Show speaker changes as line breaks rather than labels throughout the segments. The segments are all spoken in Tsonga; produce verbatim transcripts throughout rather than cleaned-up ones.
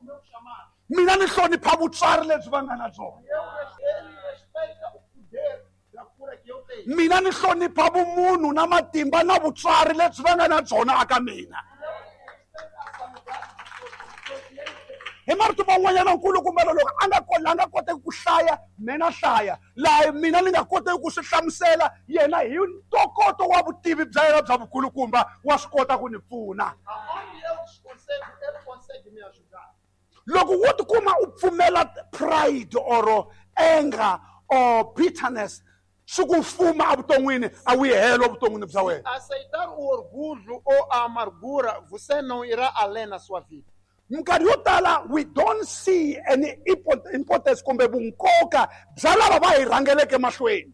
meu chamado.
Mina ni hlonipha vutswari lebyi va nga na byona.
Eu, ele respeita o poder da cura que eu tenho.
Mina ni hlonipha vumunhu na matimba na vutswari lebyi va nga na byona aka mina.
Eu respeito a sanidade do que ele tem.
Hi marito man'wanyana nkulukumba loko a nga ko la nga koteki ku hlaya mina hlaya laha mina ni nga koteki ku swi hlamusela yena hi ntokoto wa vutivi bya yena bya vukulukumba wa swi kota ku ni pfuna.
Aonde eu desconsigo, ele consegue me ajudar.
Loko wo tikuma u pfumela pride or anger or bitterness swi ku fuma evuton'wini a wu yi helo evuton'wini bya wena.
Aceitar o orgulho ou a amargura, você não irá além na sua vida.
Minkarhi yo tala we don't see any importance kumbe vunkoka bya lava va hi rhangeleke mahlweni.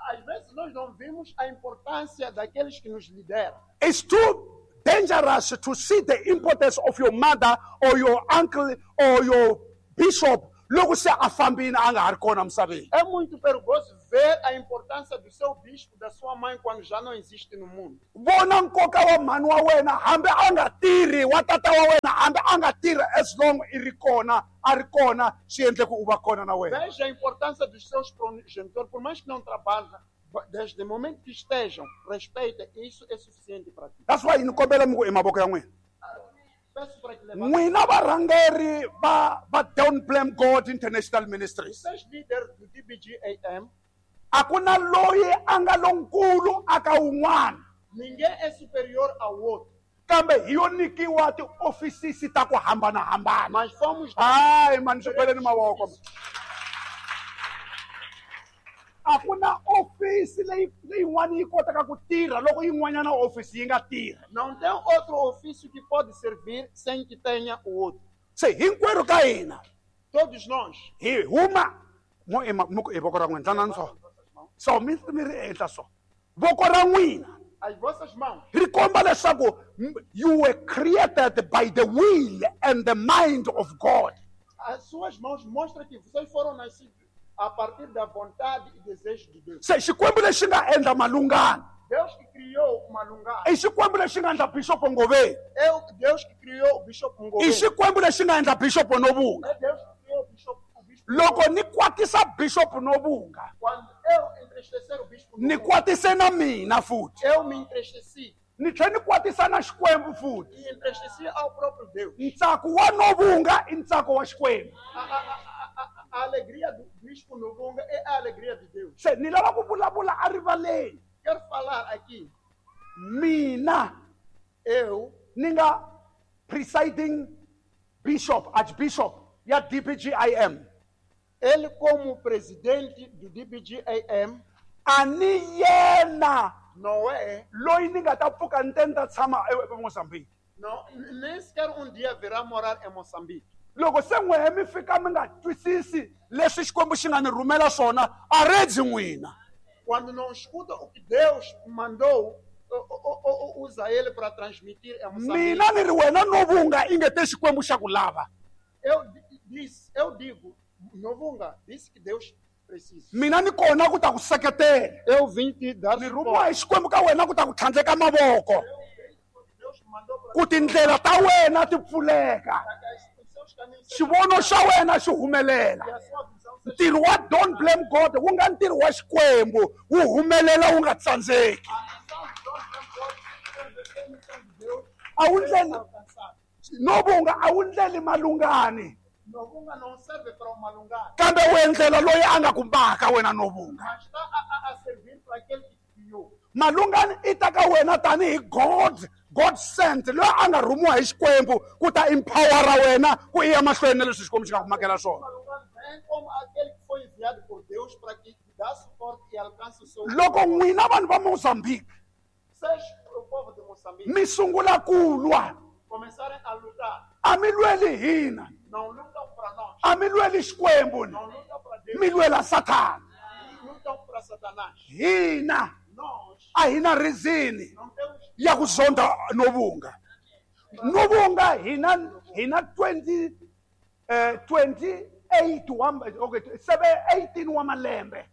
Às vezes nós não vimos a importância daqueles que nos lideram.
It's too dangerous to see the importance of your mother or your uncle or your bishop loko se a fambile a nga ha ri kona misaveni.
É muito perigoso ver a importância do seu bispo, da sua mãe, quando já não existe no mundo.
Vona nkoka wa mhani wa wena hambi a nga tirhi, wa tata wa wena hambi a nga tirhi, as long i ri kona, a ri kona, swi endle ku u va kona na wena.
Veja a importância dos seus progenitores, por mais que não trabalhem, desde o momento que estejam, respeita, isso é suficiente para ti.
That's why ni kombela mi ku i mavoko ya n'wina.
Peço para que levantem.
N'wina varhangeri va va Don't Blame God International Ministries.
Vocês líderes do D B G A M,
a ku na loyi a nga lonkulu aka wun'wana.
Ninguém é superior ao outro.
Kambe hi yo nyikiwa tiofisisi ta ku hambanahambana.
Mas fomos
Hayi mani, swi beleni mavoko. A ku na ofisi leyi leyin'wana yi kotaka ku tirha loko yin'wanyana ofisi yi nga tirhi.
Não tem outro ofício que pode servir sem que tenha o outro.
Se hinkwerhu ka hina,
Todos nós.
hi huma mo i ma- mo ku i voko ra n'wina tlanani so. So mi mi ri ehenhla so. Voko ra n'wina
As vossas mãos
ri komba leswaku you were created by the will and the mind of God.
As suas mãos mostram que vocês foram nascidos a partir da vontade e desejo de Deus.
Se Xikwembu lexi nga endla Malungana.
Deus que criou Malungana.
I Xikwembu lexi nga endla Bishop Ngoveni.
É o Deus que criou o Bishop Ngoveni.
I Xikwembu lexi nga endla Bishop Novunga.
É Deus que criou o Bishop, o Bispo
Loko ni kwatisa Bishop Novunga.
Quando eu entristecer o Bispo
Ni
Novunga,
kwatise na mina futhi.
Eu me entristeci.
Ni tlhela ni kwatisa na Xikwembu futhi.
E entristeci ao próprio Deus.
Ntsako wa Novunga i ntsako wa Xikwembu.
A, a, a, a, a alegria do Bispo Novunga é a alegria de Deus.
Se ni lava ku vulavula a rivaleni.
Quero falar aqui.
Mina,
eu,
ni nga presiding bishop, archbishop ya D B G I M.
Ele como presidente do D B G I M,
a ni yena
não é,
loyi ni nga ta pfuka ni te ni ta tshama e Mozambique.
Não, nem sequer um dia virá morar em Moçambique.
Loko se n'wehe mi fika mi nga twisisi leswi Xikwembu xi nga ni rhumela swona, a redzi n'wina.
Quando não escuta o que Deus mandou, o, o, o, usa ele para transmitir em Moçambique.
Mina ni ri wena Novunga inge te Xikwembu xa ku lava.
Eu disse, eu digo, Novunga, disse que Deus precisa.
Mina ni kona ku ta ku seketela.
Eu vim te dar
Ni rhumiwa hi Xikwembu ka wena ku ta ku tlhandleka mavoko.
Deus mandou para
Ku tindlela ta wena ti pfuleka. Xivono xa wena xi humelela. Ntirho wa Don't Blame God wu nga ntirho wa Xikwembu wu humelela wu nga tsandzeki. A wu ndleli Novunga, a wu ndleli Malungani.
Novunga não serve para o Malungani.
Kambe u endlela loyi a nga ku maka wena Novunga.
Mas está a, a, a servir para aquele que te criou.
Malungani i ta ka wena tanihi God, God sent, loyi a nga rhumiwa hi Xikwembu ku ta empowera wena ku iya mahlweni na leswi Xikwembu xi nga ku makela swona.
Malungani vem como aquele que foi enviado por Deus para que te dá suporte e alcance o seu.
Loko n'wina vanhu va Mozambique,
Vocês, o povo de Moçambique,
mi sungula ku lwa,
começarem a lutar.
A mi lweli hina.
Não lutam para nós.
A mi lweli Xikwembu.
Não lutam para Deus.
Mi lwela Sathana.
Lutam para Satanás.
Hina.
Nós.
A hina rizini
Não temos
ya ku zonda Novunga. Novunga hina hina twenty eh twenty-eight wa okay seven eighteen wa malembe.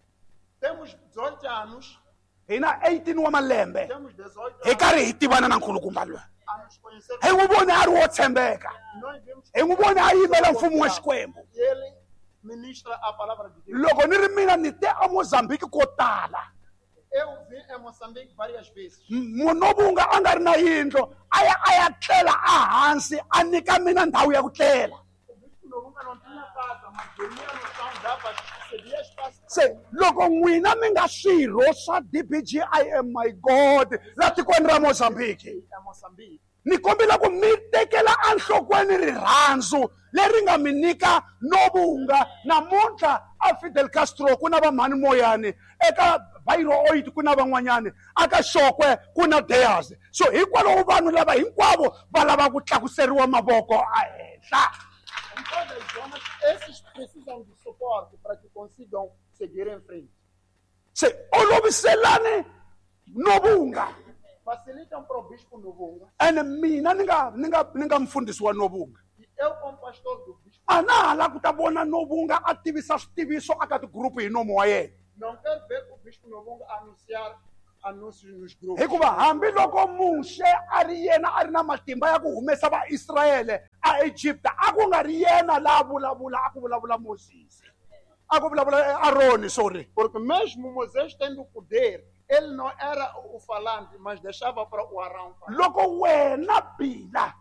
Temos dezoito anos.
Hina eighteen wa malembe.
Temos dezoito
Hi karhi hi tivana na nkulukumba loyi.
A nos conhecer.
Hi n'wi vone a ri wo tshembeka.
Nós vimos
Hi n'wi vone a yimela mfumo wa Xikwembu.
E ele ministra a palavra de Deus.
Loko ni ri mina ni te eMozambique ko tala.
Eu vim em Moçambique várias vezes.
Munobunga a nga ri na yindlu, a ya a ya tlela ehansi, a nyika mina ndhawu ya ku tlela.
O bispo Nobunga não tinha casa, mas dormia no chão, dava, cedia espaço.
Se loko n'wina mi nga swirho swa D B G I M, my God, la tikweni ra Mozambique.
Em Moçambique.
Ni kombela ku mi tekela enhlokweni rirhandzu leri nga mi nyika Nobunga. Namuntlha a Fidel Castro ku na vamhani Moyani, eka Bairo Oit ku na van'wanyani, aka Xokwe ku na Deyas. So hikwalaho vanhu lava hinkwavo va lava ku tlakuseriwa mavoko ehenhla.
Em todas as zonas, esses precisam de suporte para que consigam seguir em frente.
Se oloviselani Nobunga.
Facilitam para o bispo Nobunga.
Ene mina ni nga, ni nga, ni nga mfundhisi wa Nobunga.
E eu como pastor do bispo.
A na ha la ku ta vona Nobunga a tivisa switiviso aka tigrupu hi nomo wa yena.
Não quero ver o bispo Nobunga anunciar anúncios nos grupos.
Hikuva hambiloko Muxe a ri yena a ri na matimba ya ku humesa Vaisraele a Egipta, a ku nga ri yena la vulavula, a ku vulavula Moses. A ku vulavula Aroni, sorry.
Porque mesmo Moisés tendo o poder, ele não era o falante, mas deixava para o Arão falar.
Loko wena Bila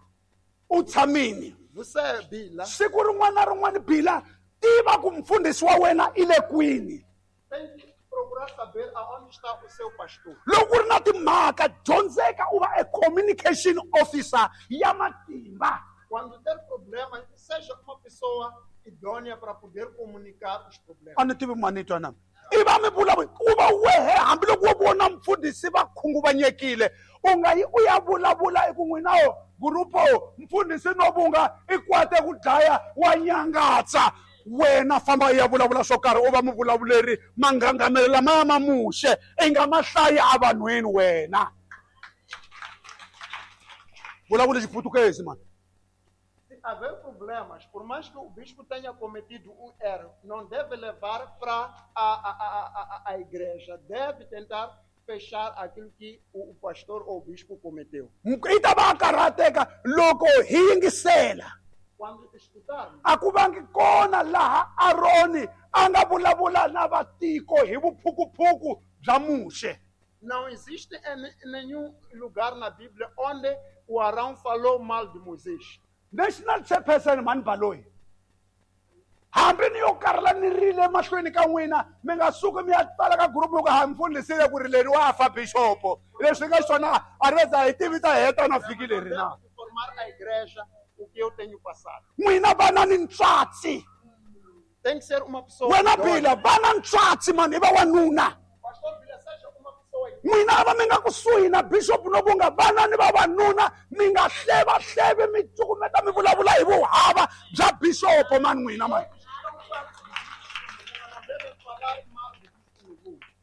u tshamini.
Você Bila.
Siku rin'wana na rin'wana Bila, tiva ku mfundhisi wa wena i le kwini.
Tem que procurar saber aonde está o seu pastor.
Loko ku ri na timhaka, dyondzeka u va a communication officer ya matimba.
Quando ter problemas, seja uma pessoa idônea para poder comunicar os problemas.
A ni tivi mani twa na. I va mi vulavula, u va wehe hambiloko wo vona mfundhisi va khunguvanyekile, u nga yi u ya vulavula eku n'wina wo gurupo mfundhisi Nobunga i kwate ku dlaya wa nyangatsa. Wena famba u ya vulavula swo karhi, u va muvulavuleri, mangangamelo lamaya ma Muxe i nga ma hlayi evanhwini wena. Vulavula Xiputukezi mani.
Se haver problemas, por mais que o bispo tenha cometido um erro, não deve levar para a, a, a, a, a igreja, deve tentar fechar aquilo que o, o pastor ou o bispo cometeu.
I ta va a karhateka loko hi yingisela.
Quando escutarmos.
A ku vangi kona laha Aroni a nga vulavula na vatiko hi vuphukuphuku bya Muxe.
Não existe em nenhum lugar na Bíblia onde o Arão falou mal de Moisés.
National Chairperson Mani Baloyi. Hambi ni yo karla ni rile mahlweni ka n'wina, mi nga suki mi ya tsala ka group yo ka ha mfundhisi ku ri leri wa fa bishop. Leswi nga xona a ri za hi tivi ta heta na vhiki leri na.
Informar a igreja o que eu tenho passado.
N'wina vana ni ntswatsi.
Tem que ser uma pessoa.
Wena Bila, vana ntswatsi mani, i va wanuna.
Pastor Bila, seja uma pessoa.
N'wina va mi nga kusuhi na Bishop Nobunga, vana ni vavanuna, mi nga hleva hleve mi cukumeta mi vulavula hi vuhava bya Bishop mani n'wina mani.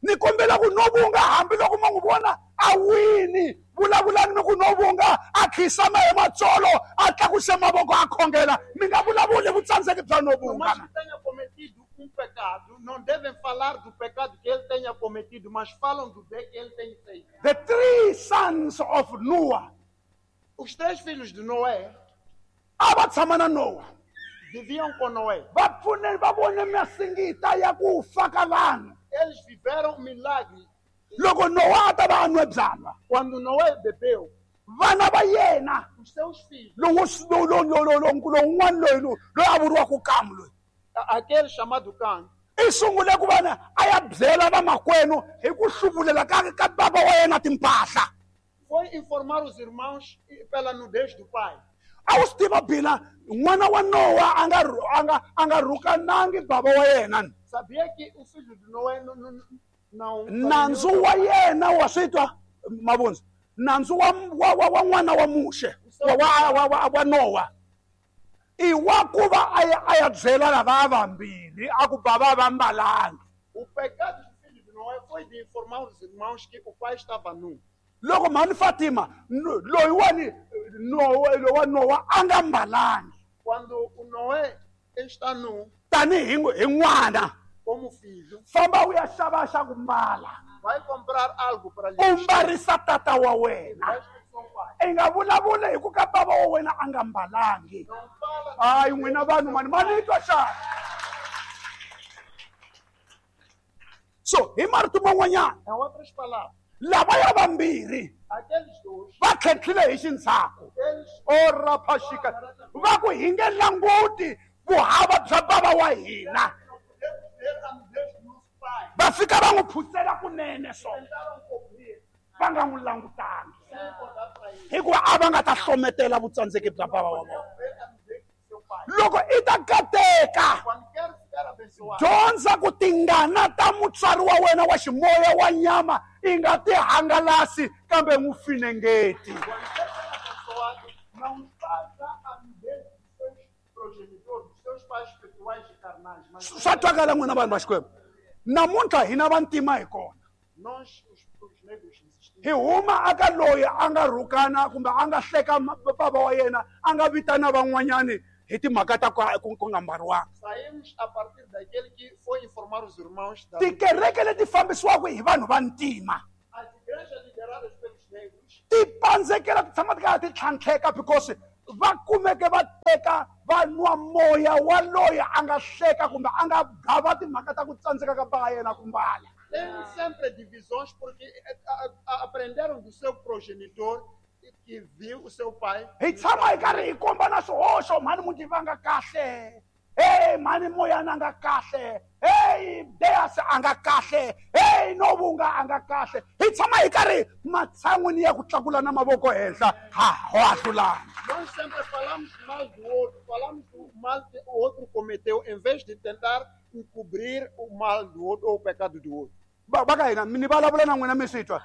Ni kombela ku Nobunga hambiloko ma n'wi vona a wini, vulavulani mi ku Nobunga a khisama hi matsolo, a tlakuse mavoko a khongela, mi nga vulavuli vutsandzeki bya Nobunga.
Por mais que tenha cometido um pecado, não devem falar do pecado que ele tenha cometido, mas falam do bem que ele tem feito.
The three sons of Noah.
Os três filhos de Noé
a va tshama na Noah.
Viviam com Noé.
Va pfune va vone masingita ya ku fa ka vanhu.
Eles viveram um milagre.
Loko Noah a ta va a nwe byalwa.
Quando Noé bebeu,
vana va yena,
os seus filhos,
lowu lowu lowu lowu lowun'wana loyi loyi a vuriwaka Kamu loyi,
aquele chamado Cam,
i sungule ku vana a ya byela vamakwenu hi ku hluvulela ka ka baba wa yena timpahla.
Foi informar os irmãos pela nudez do pai.
A wu swi tiva Bila, n'wana wa Noah a nga a nga a nga rhukanangi baba wa yena.
Sabia que o filho de Noé não não
nandzu wa yena wa swi twa mavundza. Nandzu wa wa wa n'wana wa Muxe wa wa wa wa Noah i wa ku va a ya a ya byela lava vambirhi a ku baba va mbalanga.
O pecado do filho de Noé foi de informar os irmãos que o pai estava nu.
Loko mhani Fatima loyi wani Noé lowa Noah a nga mbalangi.
Quando o Noé está nu,
tanihi hi n'wana,
como filho,
famba u ya xava xa ku mbala.
Vai comprar algo para lhe
U mbarisa tata wa wena.
Vai pai.
I nga vulavuli hi ku ka bava wa wena a nga mbalangi.
Não fala
Hayi n'wina vanhu mani ma ni twa xana? So hi marito man'wanyana
Em outras palavras,
lavaya vambirhi
aqueles dois,
va tlhentlhile hi xindzhaku.
eles
Oraphashika va ku hi nge languti vuhava bya bava wa hina.
não podemos ver a nudez do nosso pai.
Va fika va n'wi phusela kunene so
Tentaram cobrir
va nga n'wi langutangi
sem olhar para ele.
hikuva a va nga ta hlometela vutsandzeki bya bava wa vona.
Não ver a nudez do seu pai.
Loko i ta kateka
Quando quer ficar abençoado,
dyondza ku tingana ta mutswari wa wena wa ximoya wa nyama i nga ti hangalasi kambe n'wi finengeti.
quando quer ser abençoado, não faça a nudez dos seus progenitores, dos seus pais espirituais e carnais. Mas
Swa twakala n'wina vanhu va Xikwembu. Namuntlha hina vantima hi kona.
nós, os, os negros, insistimos.
Hi huma aka loyi a nga rhukana kumbe a nga hleka ma- bava wa yena a nga vitana van'wanyani hi timhaka ta ku ku ku nga mbariwanga.
Saímos a partir daquele que foi informar os irmãos da
Tikereke leti fambisiwaka hi vanhu va ntima
As igrejas lideradas pelos negros
ti pandzekela ti tshama ti karhi ti tlhantlheka because va kumeke va teka va nwa moya wa loyi a nga hleka kumbe a nga gava timhaka ta ku tsandzeka ka bava yena ku mbala.
têm sempre divisões porque eh, a- a- aprenderam do seu progenitor que viu o seu pai.
Hi tshama hi karhi hi komba na swihoxo mhani muti va nga kahle, hey mhani moyana a nga kahle, hey Deas a nga kahle, hey Novunga a nga kahle. Hi tshama hi karhi matshan'wini ya ku tlakula na mavoko henhla ha ho ahlulana.
Nós sempre falamos mal do outro, falamos do mal que o outro cometeu, em vez de tentar encobrir o mal do outro ou o pecado do outro.
Va va ka hina ni vulavula na n'wina mi swi twa.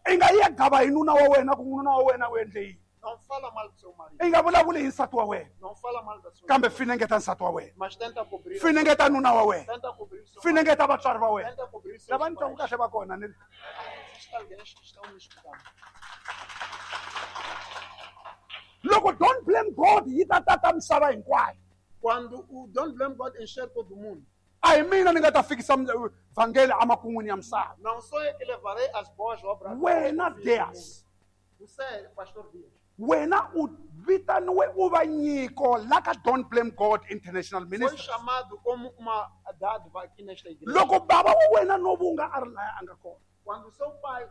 I nga yi ya gava hi nuna wa wena ku nuna wa wena u endle yini.
Não fala mal do seu marido,
I nga vulavuli hi nsati wa wena
não fala mal da sua
kambe finengeta nsati wa wena,
mas tenta cobrir,
finengeta nuna wa wena,
tenta cobrir o seu marido,
finengeta vatswari va wena.
tenta cobrir seus
Lava ni twaku
pais.
kahle va kona ni
Existe alguém que estão me escutando.
Loko don't blame God yi ta tata misava hinkwayo.
Quando o Don't Blame God encher todo mundo,
A hi mina ni nga ta fikisa vhangeli emakun'wini ya misava.
não sou eu que levarei as boas obras.
Wena Deas,
Você, pastor Dias,
wena u vitaniwe u va nyiko la ka Don't Blame God International
foi
Ministry.
chamado como uma dádiva aqui nesta igreja.
Loko bava wa wena Novunga a ri laya a nga kona,
Quando seu pai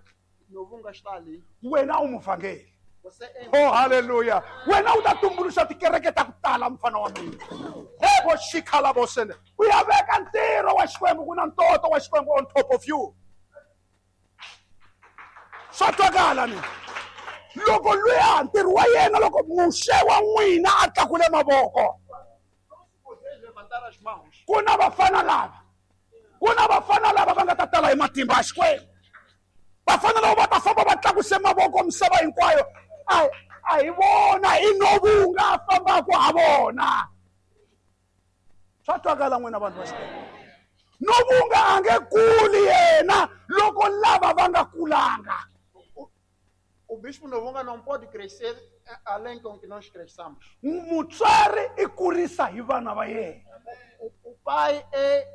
Novunga está ali,
wena u muvhangeli.
você é
Oh hallelujah. Wena u ta tumbuluxa tikereke ta ku tala mfana wa mina. He vo xikhala vo sene. U ya veka ntirho wa Xikwembu ku na ntoto wa Xikwembu on top of you. Swa twakala ni. Loko luya ntirho wa yena loko Muxe wa n'wina a tlakule mavoko.
Não se poder levantar as mãos.
Ku na vafana lava. Ku na vafana lava va nga ta tala hi matimba ya Xikwembu. Vafana lava va ta famba va tlakuse mavoko misava hinkwayo. A a hi vona i Novunga a fambaka ha vona. Swa twakala n'wina vanhu va Xikwembu. Novunga a nge kuli yena loko lava va nga kulanga.
O, o bispo Novunga não pode crescer além com que nós cresçamos.
Mutswari i kurisa hi vana va yena.
O, o pai é,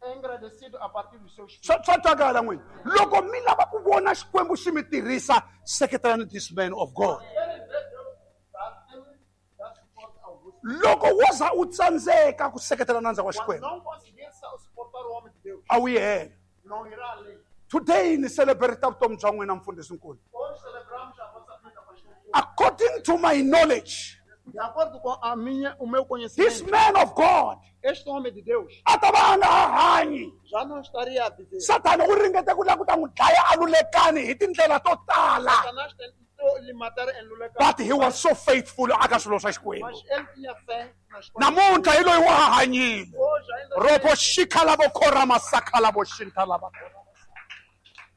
é engrandecido a partir dos seus filhos.
Swa swa twakala n'wina. Loko mi lava ku vona Xikwembu xi mi tirhisa, seketelani this man of God.
Querem ver Deus dar, tem- dar suporte ao vosso.
Loko wo za u tsandzeka ku seketela nandza wa
Quando
Xikwembu,
não conseguir sa- suportar o homem de Deus,
a wu yi hela.
não irá além.
Today ni celebrate vutomi bya n'wina mfundhisi nkulu.
Hoje celebramos a vossa vida, pastor.
According to my knowledge,
De acordo com a minha, o meu
this
conhecimento,
man of God
este homem de Deus
a ta va a nga ha hanyi.
já não estaria a viver.
Sathana u ringete ku lava ku ta n'wi dlaya a lulekani hi tindlela to tala.
Satanás tentou lhe matar em Luleka,
But he was so faithful aka swilo swa Xikwembu.
mas ele tinha fé nas coisas.
Namuntlha hi loyi wa ha hanyile.
Hoje ainda
Ropo xikhala vo khora masakhala vo xinta lava.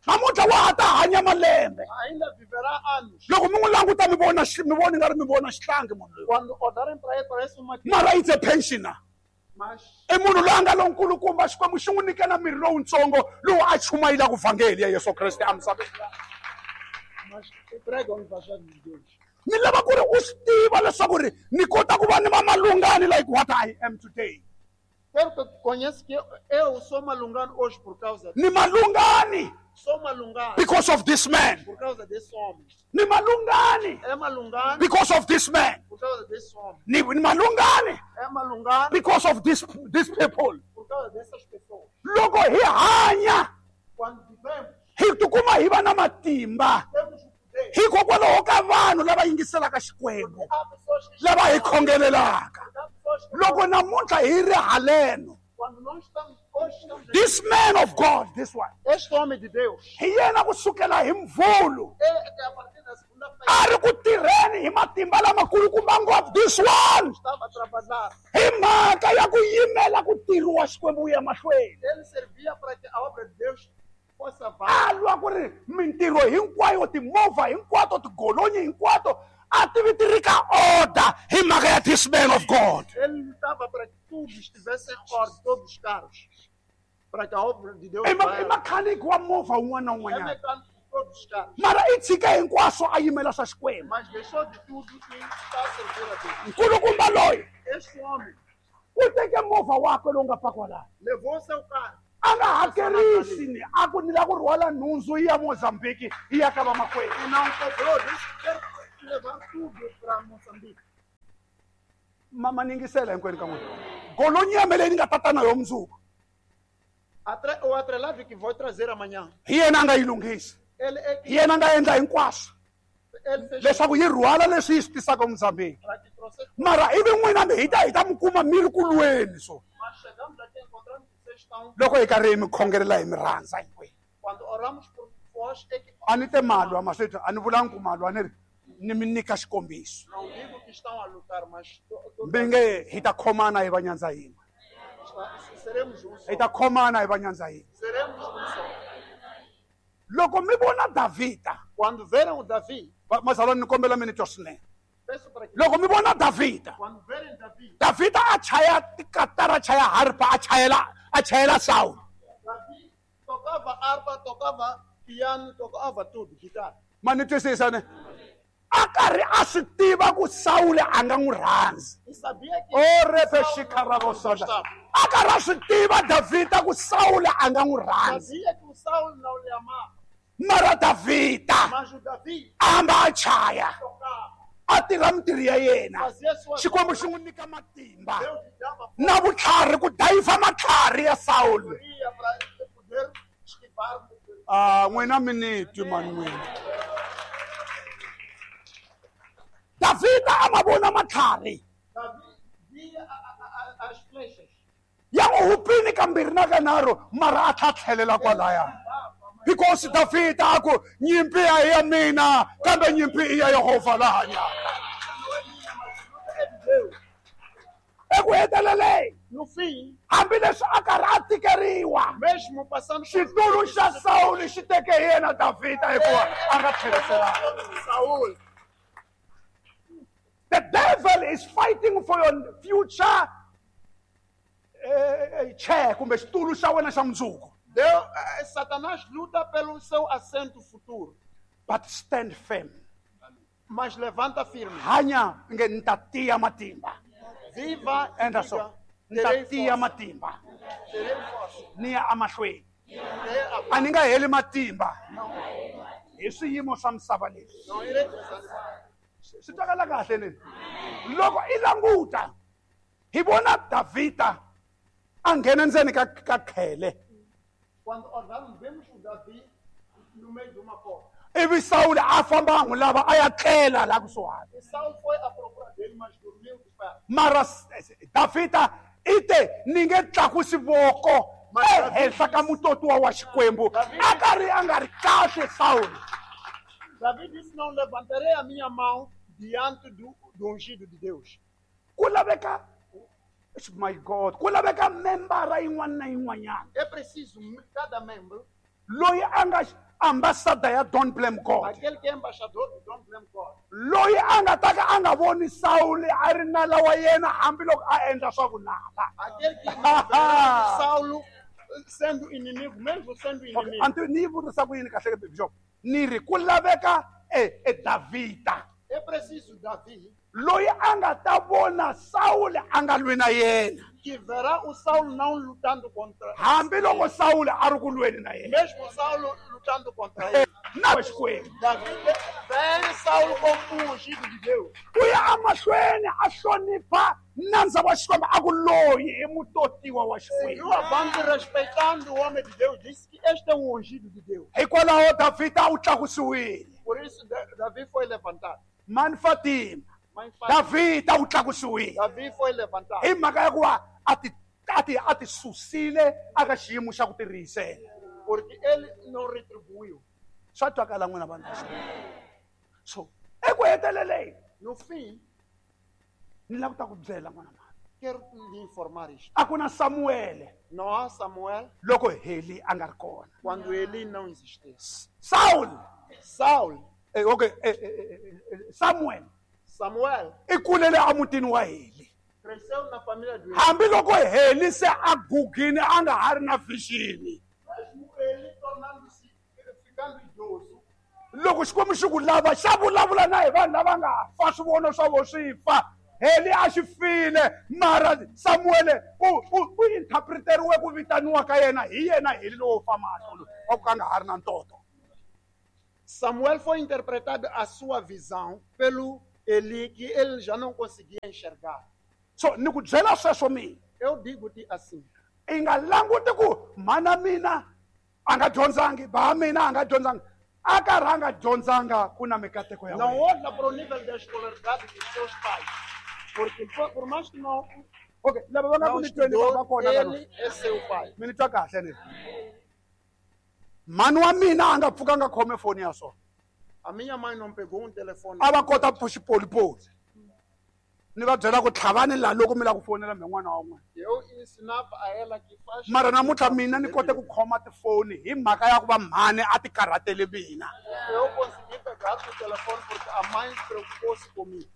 Namuntlha wa ha ta hanya malembe.
ainda viverá anos.
Loko mi n'wi languta mi vona xi- mi vona ingari mi vona xihlangi munhu loyi.
Quando olharem para ele, parece uma criança,
Mara it's a pensioner.
mas
I munhu loyi a nga lonkulukumba Xikwembu xi n'wi nyike na miri lowutsongo lowu a chumayelaka vhangeli ya Yesu Kreste emisaveni.
mas prega o evangelho de Deus.
Ni lava ku ri u swi tiva leswaku ri ni kota ku va ni va malungani like what I am today.
Quero que conheça que eu sou malungani hoje por causa
Ni malungani.
Sou malungani.
Because of this man.
Por causa desse homem.
Ni malungani.
É malungani.
Because of this man.
Por causa desse homem.
Ni, ni malungani.
É malungani.
Because of this, these people.
Por causa dessas pessoas.
Loko hi hanya.
Quando vivemos.
Hi tikuma hi va na matimba.
Temos o poder.
Hikokwalaho ka vanhu lava yingiselaka Xikwembu. Lava hi khongelelaka. Loko namuntlha hi ri haleno.
Quando nós estamos hoje estamos
This man of God, this one.
Este homem de Deus.
Hi yena kusukela hi mvulu.
É que a partir da segunda-feira.
A ri ku tirheni hi matimba lamakulukumba ngopfu this one.
Estava a trabalhar.
Hi mhaka ya ku yimela ku tirhiwa Xikwembu wu ya mahlweni.
Ele servia para que a obra de Deus possa
A lwa ku ri mintirho hinkwayo, timovha hinkwato, tigolonyi hinkwato a ti vi ti ri ka order hi mhaka ya this man of God.
Ele lutava para que tudo estivesse em ordem, todos os carros. Para que a obra de Deus
I
vá.
mechanic wa movha wun'wana na
É
wun'wanyana.
mecânico de todos os carros.
Mara i tshike hinkwaswo a yimela swa Xikwembu.
Mas deixou de tudo e está a servir a Deus.
Nkulukumba loyi
Este homem
u teke movha wakwe lowu nga pakiwa laha.
levou seu carro.
A nga hakerisi ni a ku ni lava ku rhwala nhundzu yi ya Mozambique yi ya ka vamakwerhu.
E não cobrou, disse que quer levar tudo para Moçambique.
Mama ni yingisela hinkwenu ka n'wina. Golonyi ya me leyi ni nga tata na yo mundzuku.
Atre, o atrelado que vou trazer amanhã.
Hi yena a nga yi lunghisa.
Ele é que
Hi yena a nga endla hinkwaswo.
ele fez
Leswaku yi rhwala leswi yi swi tisaka Mozambique.
para que trouxesse.
Mara ivi n'wina mi hi ta hi ta mi kuma mi ri ku lweni so.
Mas chegamos aqui encontramos que vocês estão.
Loko hi karhi hi mi khongelela hi mi rhandza hinkwenu.
Quando oramos por vós é que
A ni te malwa maswethu, a ni vulangi ku malwa, ni ri ni mi nyika xikombiso.
Não digo que estão a lutar, mas to, to,
Mi nge hi ta khomana hi va nyandza yin'we.
seremos um só.
Hi ta khomana hi va nyandza yin'we.
Seremos um só.
Loko mi vona Davhida,
Quando verem o Davi,
mazalwana ni kombela mi ni twa swinene.
peço para que
Loko mi vona Davhida,
quando verem Davi,
Davhida a chaya tikatara, a chaya harpa, a chayela, a chayela Saul.
Davi tocava harpa, tocava piano, tocava tudo, guitarra.
Ma ni twisisa ne? A karhi a swi tiva ku Saul a nga n'wi rhandzi.
E sabia que
O repe
Saul não
xikarabosona.
gostava.
A karhi a swi tiva Davhida ku Saul a nga n'wi rhandzi.
Sabia que o Saul não lhe amava.
Mara Davhida
Mas o Davi
a hamba a chaya,
tocava,
a tirha mintirho ya yena.
fazia suas
Xikwembu xi n'wi nyika matimba
Deus lhe dava
na vutlhari ku dayiva matlhari ya Saul.
sabedoria para poder esquivar.
Ah, n'wina mi ni twi mani n'wina. Davhida a ma vona matlhari
Davi via a, a, a, as flechas.
ya n'wi hupini kambirhi na kanharhu, mara a tlha tlhelela kwalaya. Because Davhida a ku nyimpi a hi ya mina kambe nyimpi i ya Yehovha la hanyaka.
É de Deus.
Eku heteleleni,
No fim,
hambileswi a karhi a tikeriwa,
mesmo passando por
xitulu xa Saul xi teke hi yena Davhida hikuva a nga tlheriselanga.
Saul,
The devil is fighting for your future eh, chair kumbe xitulu xa wena xa mundzuku.
Deus, eh, Satanás luta pelo seu assento futuro,
But stand firm.
mas levanta firme.
Hanya nge ni ta tiya matimba.
Viva e
Endla
diga,
so. Ni ta
terei
tiya
força.
matimba.
Terei força.
Ni ya emahlweni.
Terei a
A ni nga heli matimba hi swiyimo swa misava leswi.
Não irei desanimar.
Swi twakala kahle ni? Loko i languta hi vona Davhida a nghena ndzeni ka ka khele.
Quando olharmos, vemos o Davi no meio de uma cova.
Ivi Saul a famba a n'wi lava a ya tlela laha kusuhani.
E Saul foi à procura dele, mas dormiu de pé.
Mara Davhida i te ni nge tlakusi voko ehenhla ka mutotiwa wa Xikwembu. A karhi a nga ri kahle Saul.
Davi disse: não levantarei a minha mão diante do, do ungido de Deus.
Ku laveka, my God, ku laveka membara yin'wana na yin'wanyana
É preciso cada membro,
loyi a nga ambassador ya Don't Blame God,
aquele que é embaixador do Don't Blame God,
loyi a nga ta ka a nga voni Saul a ri nala wa yena hambiloko a endla swa vunala.
aquele que não verá Saulo sendo inimigo, mesmo sendo inimigo.
Anti ni yi vurisa ku yini kahle Bishop? Ni ri ku laveka e e Davhida
É preciso Davi
loyi a nga ta vona Saul a nga lwi na yena.
Que verá o Saulo não lutando contra.
Hambi loko Saulo a ri ku lweni na yena.
Mesmo Saulo lutando contra ele.
Na Xikwembu.
Davi vê Saulo como um ungido de Deus.
U ya emahlweni a hlonipha nandza wa Xikwembu a ku loyi i mutotiwa wa Xikwembu.
Seguiu avante respeitando o homem de Deus, disse que este é o ungido de Deus.
Hikwalaho Davhida u tlakusiwile.
Por isso Davi foi levantado.
Mani Fatima. Davhida u tlakusiwile.
Davi foi levantado.
Hi mhaka ya ku va a ti a ti a ti susile aka xiyimo xa ku tirihisela.
Porque ele não retribuiu.
Swa twakala n'wina vanhu va Xikwembu. So eku heteleleni,
no fim,
ni lava ku ta ku byela n'wana mhani.
Quero lhe informar isto.
A ku na Samuele.
Não há Samuel.
Loko Heli a nga ri kona.
Quando Eli não existia.
Saul.
Saul.
Eh, okay, eh, eh, eh, Samuel.
Samuel.
I kulele emutini wa Heli.
Cresceu na família do Eli.
Hambi loko Heli se a gugile a nga ha ri na vision.
Mesmo ele tornando-se ficando idoso.
Loko Xikwembu xi ku lava xa vulavula na hi vanhu lava nga fa swivono swa vo swi fa. Heli a xi file mara Samuele u u u interpreteriwe ku vitaniwa ka yena hi yena Heli lowo fa mahlo wa ku ka nga ha ri na ntoto.
Samuel foi interpretado a sua visão pelo Eli que ele já não conseguia enxergar.
So ni ku byela sweswo mina.
Eu digo-te assim.
I nga languti ku mhana mina a nga dyondzangi, ba mina a nga dyondzangi. A karhi a nga dyondzanga ku na mikateko ya wena.
Não olha para o nível da escolaridade dos seus pais. Porque por mais que não.
Okay, lava va nga ku ni tweni va kona
ele é seu pai.
Mi ni twa kahle ni. Mhani wa mina a nga pfuka a nga khome foni ya so.
A minha mãe não pegou um telefone.
A va kota ku xipolipoli. Ni va byela ku tlhavani laha loko mi lava ku fonela mi n'wana wa n'wina.
Eu ensinava a ela que faz.
Mara namuntlha mina ni kote ku khoma tifoni hi mhaka ya ku va mhani a ti karhatele mina.
Eu consegui pegar o telefone porque a mãe preocupou-se comigo.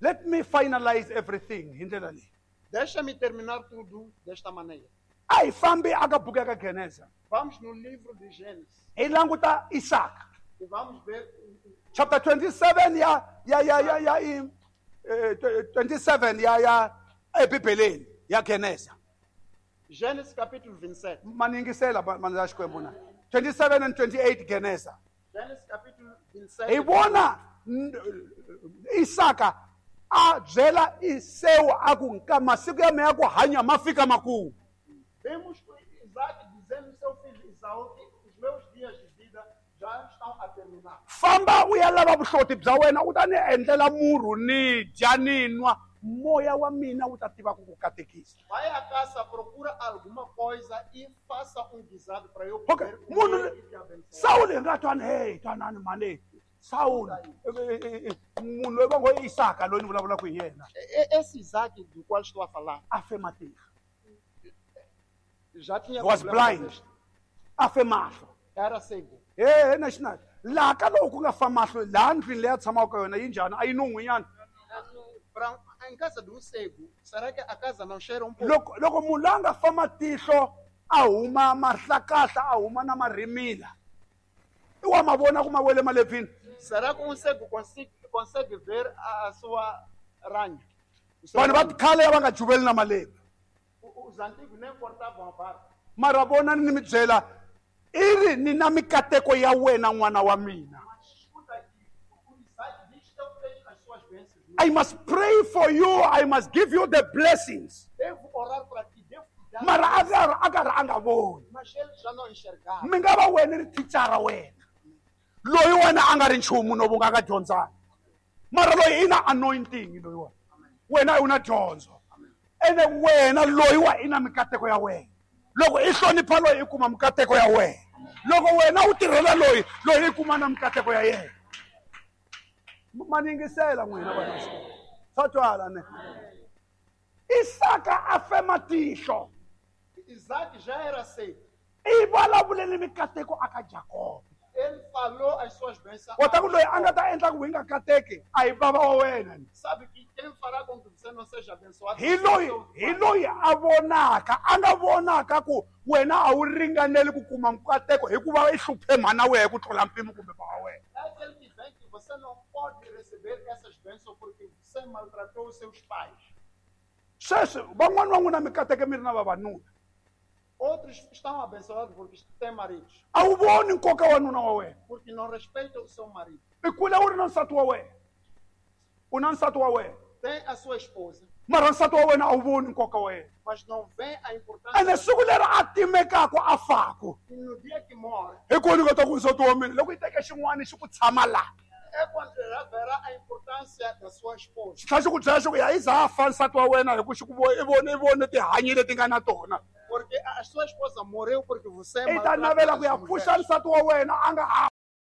Let me finalize everything hi ndlela leyi.
Deixa-me terminar tudo desta maneira.
A hi fambi aka buku ya ka Genesa.
Vamos no livro de Gênesis.
Hi languta Isaka.
E vamos ver
chapter twenty-seven ya ya ya ya ya eh, twenty-seven ya ya eBibeleni ya Genesa.
Gênesis capítulo vinte e sete.
Maningisela manza Xikwembu na. twenty-seven and twenty-eight Genesa.
Gênesis capítulo vinte e sete.
Hi vona Isaka a byela Esau a ku nka masiku ya mina ya ku hanya ma fika makumu.
Vemos Isaac dizendo ao seu filho Esaú que os meus dias de vida já estão a terminar.
Famba u ya lava vuhloti bya wena u ta ni endlela murhu ni dya ni nwa moya wa mina wu ta tiva ku ku katekisa.
Vai à caça, procura alguma coisa e faça um guisado para eu
Okay.
comer
Munhu
e te abençoar.
Saul hi nga twani hey twanani mhani Saul munhu loyi va ngo i Isaka loyi ni vulavulaka hi yena.
Esse Isaac do qual estou a falar
a fe matihlo.
Já tinha
was blind. A fe mahlo.
Era cego.
Eh national. Laha ka loko ku nga fa mahlo laha ndlwini leyi a tshamaka ka yona yi njhani a yi nun'hwinyana.
Pra em casa de um cego, será que a casa não cheira um pouco?
Loko loko munhu loyi a nga fa matihlo a huma mahlakahla a huma na marhimila. I wa ma vona ku ma wele malebvini.
Será que um cego consegue, consegue ver a, a sua ranha?
Vanhu va khale va nga juveli na malebvu.
Os antigos nem cortavam a barba.
Mara vona ni mi byela i ri ni na mikateko ya wena n'wana wa mina.
Mas escuta aqui, o Isaac diz que eu tenho as suas bênçãos.
I must pray for you, I must give you the blessings.
Devo orar para ti, devo te dar.
Mara a karhi a karhi a nga voni.
Mas ele já não enxergava.
Mi nga va wena ri thicara wena. Loyi wena a nga ri nchumu no vu nga ka dyondzanga. Mara loyi i na anointing loyi wena. Wena u na dyondzo. Ene wena loyi wa i na mikateko ya wena. Loko i hlonipha loyi i kuma mikateko ya wena. Loko wena u tirhela loyi, loyi i kuma na mikateko ya yena. Maningisela n'wina vanhu va Xikwembu. Swa twala ne. Isaka a fe matihlo.
Isaac já era cego.
I vulavulele mikateko aka Jakobe.
Ele falou as suas bênçãos.
Kota ku loyi a nga ta endla ku hi nga kateki a hi bava wa wena.
Sabe que quem fará com que você não seja abençoado?
Hi loyi hi loyi a vonaka a nga vonaka ku wena a wu ringaneli ku kuma mikateko hikuva i hluphe mhana wehe ku tlula mpimo kumbe bava wena.
É aquele que vem que você não pode receber essas bênçãos porque você maltratou os seus pais.
Sweswi van'wani va n'wina mi kateke mi ri na vavanuna.
Outros estão abençoados porque têm maridos.
A wu voni nkoka wa nuna wa wena.
Porque não respeitam o seu marido.
I kule u ri na nsati wa wena. U na nsati wa wena.
Tem a sua esposa.
Mara nsati wa wena a wu voni nkoka wa yena.
Mas não vê a importância.
Ene siku leri a timekaka a faku.
E no dia que morre.
Hi kona u nga ta ku nsati wa mina loko yi teke xin'wana xi ku tshama laha.
É quando haverá a importância da sua esposa.
Xi tlhela xi ku byela xi ku ya yi za a fa nsati wa wena hi ku xi ku i vone i vone tihanyi leti nga na tona.
Porque a sua esposa morreu porque você
I ta navela ku ya pfuxa nsati wa wena a nga ha